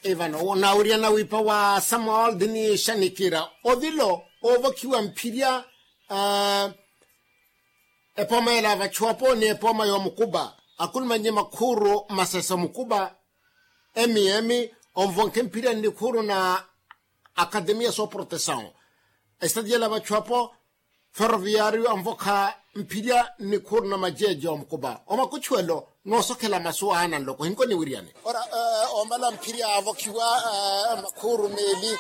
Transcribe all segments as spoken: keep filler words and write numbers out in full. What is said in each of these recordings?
Ivano nawiriyana wiipa wa samuel dini xanikira ovilo oovokhiwa mphirya. Epooma yela vachuwapo ni epooma y'omukupa akulumanye makhuuru masesa omukupa. Emiemi onvonkhe mphirya nnikhuuru na akademiya sooprotesawu esitati yela vachuwapo. Ferroviario anvokha mphirya nnikhuuru na majeeje omukupa omakuchuwelo noosokhela masu aana nloko hinko niwiriyane. Ora ombala mphirya avokhiwa makhuuru meeli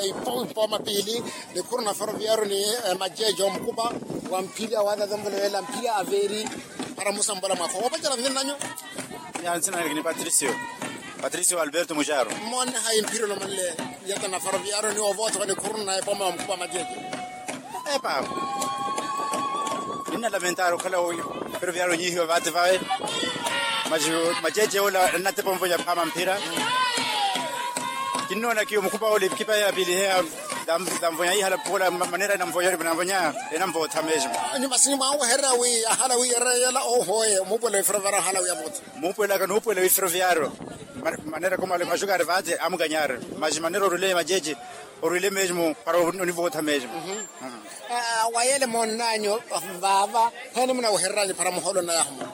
ipooma piili. Nikhuuru na ferroviario ni majeeje omukupa wa mphirya waatata mvoloweela mphirya aveeri. Para musambola mwakho woopacerya nzinanyu. Yansinanekini patricio. Patricio alberto muxaro. Mmoonne hayi mphirya olomanle yata na ferroviario ni ovootha wa nikhuuru na epooma ya omukupa majeeje. Epa. Ninna lamentari okhala ferroviario onyihiwa vaati vawe. Majeeje ola ennatepa onvonya phaama mphira. Kinnoona kiyo mukupa ole kipa ya pili heya. Tanvonya ihala pola manera enanvonya enanvootha mesmo. Nyuma sini mwanwehererya wi ahala wi ereyela ohoye omuupuwela wi ferroviario ahala wi avootha. Muupuwelaka nuupuwela wi ferroviario. Manera komale axukari vaati amukanyari. Maxi manera orwile majeeje orwile mesmo para onivootha mesmo. Wa yele moonnanyu vaava hene munawehereranyu para muholo nayahuma.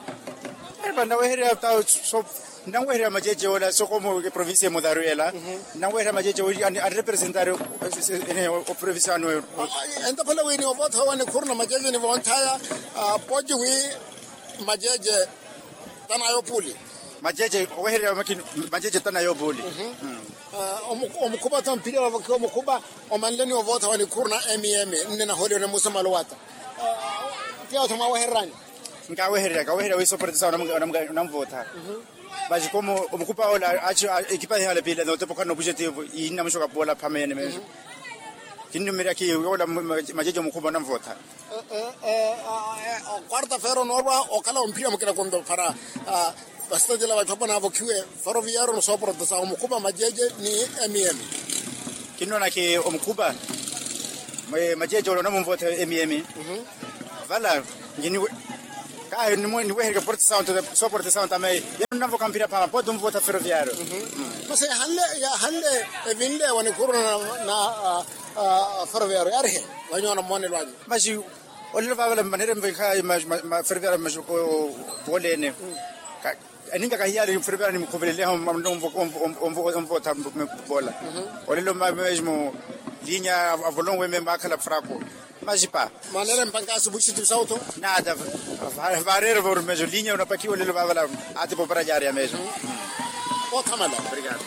Epa nnawehererya ta so nnawehererya majeeje ola soko mu provincia emudharu yela. Nnawehererya majeeje anrepresentari oprovincia anu. Ento phela wi ni ovootha wa nikhuuru na majeeje ni vonthaya poci wi majeeje tanayo puli. Majeeje owehererya makini majeeje tanayo puli. Omukhupa tho mphirya vavokhiwa omukhupa omanle ni ovootha wa nikhuuru na mem nne nahooliwa ni musamalo wata. Tiya otho mwawehererani. Nkawehereryaka owehererya wi soportisa onamvootha. Maxi komo omukhupa ola ekipa hihale pila notepa okhana opujetivo innamuxoka pola phamene mesmo. Kinnumerya kiyo ola majeeje omukhupa onamvootha. Okwarta feera onoorwa okhala omphirya mukina konto para vasitantela vatthu apo naavokhiwe ferroviario ni sooportisa omukhupa majeeje ni mem. Kinnoonake omukhupa majeeje ole onamunvootha mem. Vala kahi niwehereke portisa onto sooportisa onto ame yano nnanvokha mphirya phaama pooti onvootha ferroviario. Masi yahanle yahanle evinle wa nikhuuru na ferroviario yaarihe. Vanyoona mmoonelo anyu. Maxi olelo vaavala manera envekha maferevera maxi poolene. Eninka kahiyali ferevera nimukhuveleleha onvootha pola. Olelo mesmo linya avolonwe meme akhala fraco. Maxi pa manera empanka asubuhi situ sauto. Nada. Varere voru mesmo linya onapakhiwa olelo vaavala. Ati popara jaria mesmo. Othamala. Obrigado.